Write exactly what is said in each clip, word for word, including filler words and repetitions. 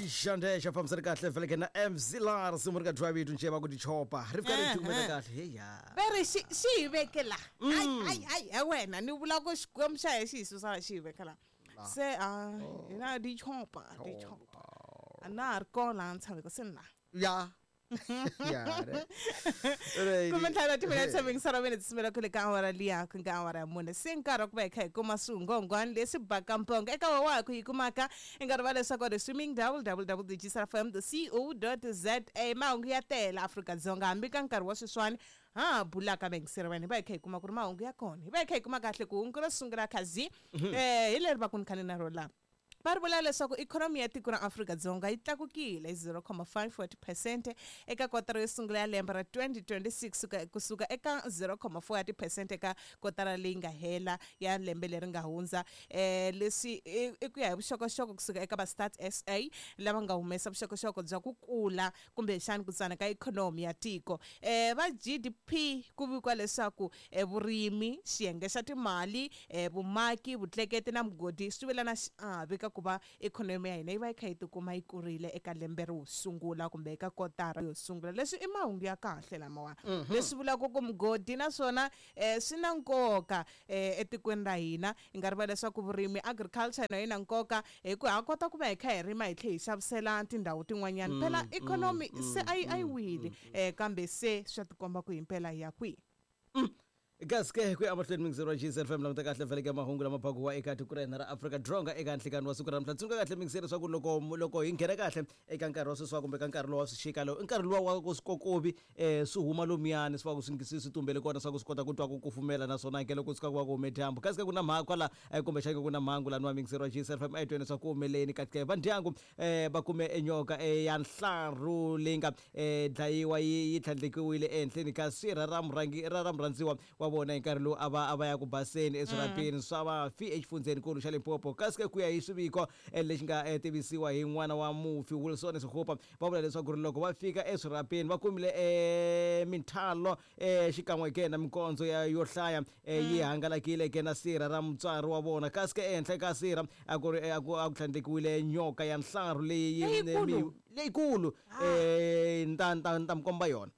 Xandesha fambisana kahle vele na M Z Lars muri ka drive itu nje va ku tichopa ri fika ri tikumela kahle heya ve ri xi xi hi veke la ai ai ai he wena ni vula ku xikwembu xa hi xi hi susa xi hi veke la se a hina di chopa di chopa a na ha ri kona ni tshame ku se na ya ya re kumbe ntlhanu wa timinete mingisana minutes simela kule ka awara liya ku nga awara ya mune se nkarhi wa ku va hi kha hi kuma swingongwani leswi baka mpongo eka wa wa ku yi kumaka i nkarhi va leswaku ri streaming w w w dot g s f m dot co dot za mahungu ya tele Afrika-Dzonga hambi ka nkarhi wa sweswiwani ha bulaka mingiseri wena hi va hi kha hi kuma ku ri mahungu ya kona hi va hi kha hi kuma kahle ku hungu ro sungula khazi eh hi leri va ku ni khani na ro la va ri vula leswaku ikhonomi ya tiko ra Afrika-Dzonga yi tlakukile hi zero comma five wa tiphesente eka kotara yo sungula ya lembe ra twenty twenty-six kusuka eka zero comma four ya tiphesente eka kotara leyi nga hela ya lembe leri nga hundza. Eh leswi i ku ya hi vuxokoxoko kusuka eka va Stats S A lava nga humesa vuxokoxoko bya ku kula kumbexani ku tsana ka ikhonomi ya tiko. Eh va G D P ku vikiwa leswaku vurimi, xiyenge xa timali, vumaki, vutleketi na mugodi swi vula na xiave ka ku va ikhonomi ya hina yi va yi kha yi tikuma yi kurile eka lembe ro sungula kumbe eka kotara yo sungula. Leswi i mahungu ya kahle lamawa leswi vulaka ku mugodi naswona swi na nkoka etikweni ra hina. Hi nga rivala leswaku vurimi, agriculture na yi na nkoka hi ku ha kota ku va hi kha hi rima hi tlhe hi xavisela tindhawu tin'wanyana. Phela ikhonomi se a yi a yi wile kambe se swa tikomba ku himpela hi ya kwihi. Kasi ke ku ya mahlweni mingiseri wa G S F M languta kahle vele ka mahungu lama phakiwa eka tiko ra hina ra Afrika-Dzonga eka nhlikani wa siku ra namuntlha. Tsundzuka kahle mingiseri leswaku loko loko hi nghena kahle eka nkarhi wa sweswiwa kumbe ka nkarhi lowu wa swixika lowu i nkarhi luwa wa ku swikokovi um swi huma lomuyani swi va ku swi swi tumbele kona swa ku swi kota ku twa ku kufumela naswona ke loko suka ku va ku hume dyambu. Kasi ke ku na mhaka kwala kumbexana ku na mhangu laniwa mingiseri wa G S F M a hi tweni leswaku ku humeleni kasi ke va ndyangu um va kume enyoka ya nhlaru leyi nga um dlayiwa yi yi tlhandlekiwile ehenhleni ka sirha ra murhangi ra ra murhandziwa wa vona hi nkarhi lowu a va a va ya ku baseni eswirhapeni swa vafi exifundzhenikulu xa Limpopo. Kasi ke ku ya hi swiviko lexi nga tivisiwa hi n'wana wa mufi Wilson Sekgopa va vula leswaku ri loko va fika eswirhapeni va kumile minthalo xikan'we ke na minkondzo ya yo hlaya yi hangalakile ke na sirha ra mutswari wa vona. Kasi ke ehenhla ka sirha a ku ri a ku a ku tlhandlekiwile nyoka ya nhlaru leyi leyikulu um ta ta ta mi komba yona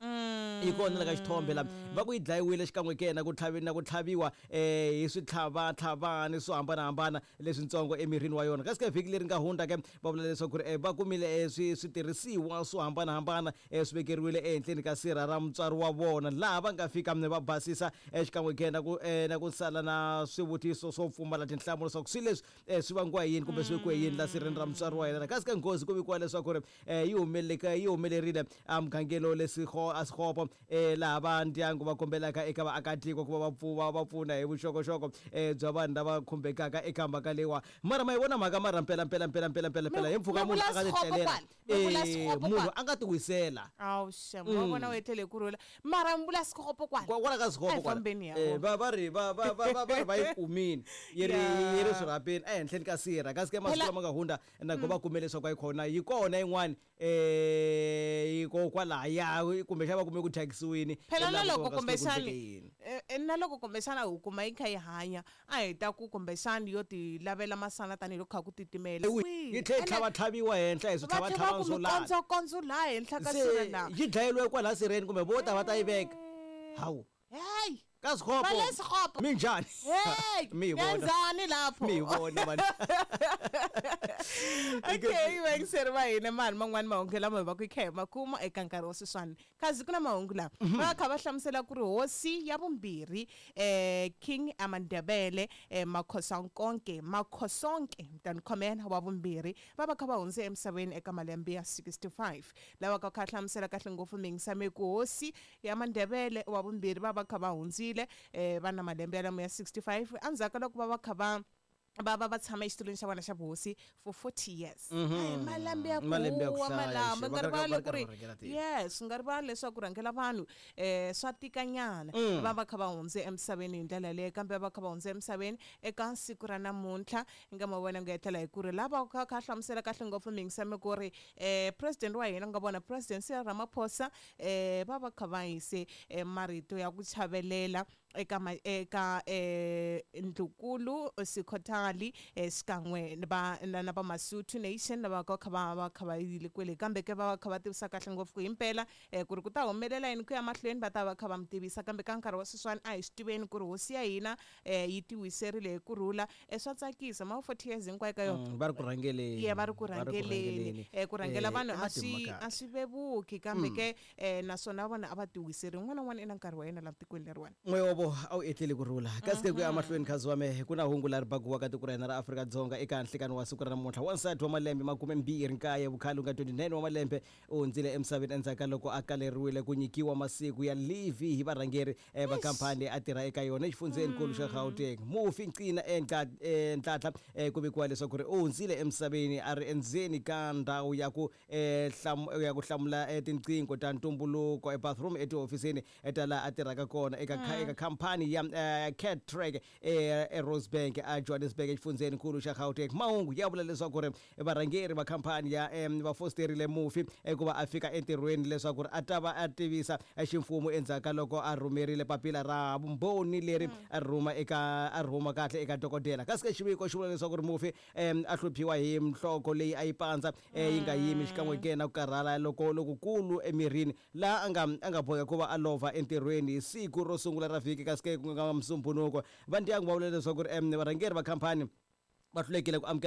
yi kona la ka xithombe la va ku yi dlayiwile xikan'we ke na ku tlhavi na ku tlhaviwa um hi switlhavatlhavani swo hambanahambana leswintsongo emirini wa yona. Kasi ke vhiki leri nga hundza ke va vula leswaku ri va kumile swi switirhisiwa swo hambanahambana swi vekeriwile ehenhleni ka sirha ra mutswari wa vona laha va nga fika va basisa xikan'we ke na ku na ku sala na swivutiso swo pfumala tinhlamulo leswaku swilo leswi swi vangiwa hi yini kumbe swi vekiwe yini la sirheni ra mutswari wa yena. Kasi ke nghozi ku vikiwa leswaku ri yi humeleleka yi humelerile emugangeni leswi a Sekgopo laha va ndyangu va kombelaka eka vaakatiko ku va va pfuva va pfuna hi vuxokoxoko bya vanhu lava khumbekaka eka mhaka leyiwa. Mara ma yi vona mhaka mara mpela mpela mpela mpela mpela mpela hi mpfhuka munhu a nga ti tlelela munhu a nga ti wisela awu xem wa vona u etlele ku rhula mara mi vula Sekgopo kwala kwala ka Sekgopo kwala va va ri va va va va ri va yi kumini yi ri yi ri swirhapeni ehenhleni ka sirha. Kasi ke masiku lama nga hundza na ku va kume leswaku a yi kona yi kona yin'wani um hikokwalaya kumbexana va kume ku thyakisiwini. Phela na loko kumbexani na loko kumbexana hi kuma yi kha yi hanya a hi ta ku kumbexani yo ti lavela masana tanihiloko kha ku titimela yi tlhe yi tlhavatlhaviwa henhla hi switlhavatlhavani swo lala kondzo laha henhla ka sirha laha yi dlayeriwe kwalaha sirheni kumbe vo ta va ta yi veka hawu hey ka Sekgopo minjhani mi hi vona njhani lapho mi hi vona vanhu. Okay vangiseri va hina mani man'wani mahungu lama hi va ku hi kha hi ma kuma eka nkarhi wa sweswiwani kasi ku na mahungu lama va kha va hlamusela ku ri hosi ya vumbirhi um King Amandebele um Makhosonke Makhosonke mtanikhomela wa vumbirhi va va kha va hundze emisaveni eka malembe ya sixty-five lava ka kha hlamusela kahle ngopfu mingisame ku hosi ya Mandebele wa vumbirhi va va kha va hundzile eh va na malembe ya lamo ya sixty-five endzhaku ka loko va va kha va va va va tshama exitulwini xa vona xa vuhosi for forty years. Ai malembe ya ku malamba nga rivali ku ri yes nga rivali leswaku rhangela vanhu eh swa tikanyana va va kha va hundze emisaveni hi ndlela leyi kambe va kha va hundze emisaveni eka siku ra namuntlha nga ma vona nga etlela hi ku ri lava kha kha hlamusela kahle ngopfu mingisame ku ri eh president wa hina nga vona President Cyril Ramaphosa eh va va kha va yise marito ya ku chavelela eka ma eka eh Ndlukulu Sikhothali eh, xikan'we na va na na va Masotho Nation lava ka kha va va kha va yile kwele kambe ke va va kha va tivisa kahle ngopfu ku himpela eh, ku ri ku ta humelela yini ku ya mahlweni va ta va kha va mi tivisa kambe ka nkarhi wa sweswiwani a hi swi tiveni ku ri hosi ya hina eh, yi tiwiserile hi kurhula eh, swa tsakisa ma forty years hinkwayo ka yona Mm, va ri ku rhangeleni ye va ri ku rhangeleni eh, ku rhangela Eh, vanhu i a matimu swi ma kahle. a swi vevuki kambe ke eh, naswona vona a va tiwiseri un'wana na un'wana i na nkarhi wa yena laha tikweni leriwani n'wewovo a wu etleli ku rhula kasi ke ku ya mahlweni khazi wa mehe ku na hungu leri bakiwaka tiko ra hina ra Afrika-Dzonga eka nhlikani wa siku ra namuntlha. Wansati wa malembe makumembirhi nkaye vukhale nga twenty-nine wa malembe u hundzile emisaveni endzhaku ka loko a kaleriwile ku nyikiwa masiku ya leave hi varhangeri eh, va khampani leyi a tirha eka yona exifundzhenikulu xa Gauteng. Mufi Ncina Nhlanhla eh, ku vikiwa leswaku ri u hundzile emisaveni a ri endzeni ka ndhawu ya ku eh, hlam- ya ku hlamula eh, tinqingho ta ntumbuluko ebathroom etihofisini ta laha a tirhaka kona eka kha- eka khampani ya eh, Cartrack eh, eRosebank a Johannesburg exifundzhenikulu xa Gauteng. Mahungu ya vula leswaku ri varhangeri va khampani ya em, va fosterile mufi eh, ku va a fika entirhweni leswaku ri a ta va a tivisa eh, ximfumo endzhaku ka loko a rhumerile papila ra vumbhoni leri a rhuma eka a rhuma kahle eka dokodela. Kasi ke xiviko xi vula leswaku ri mufi em, a hluphiwa hi nhloko leyi a yi pandza eh, yi nga yimi xikan'we ke na ku karhala loko lokukulu emirini laha a nga a nga boheka ku va a lova entirhweni hi siku ro sungula ra vhiki kasi ke ku nga Musumbunuko. Va ndyangu va vula leswaku ri em, varhangeri va khampani va hlulekile ku amukela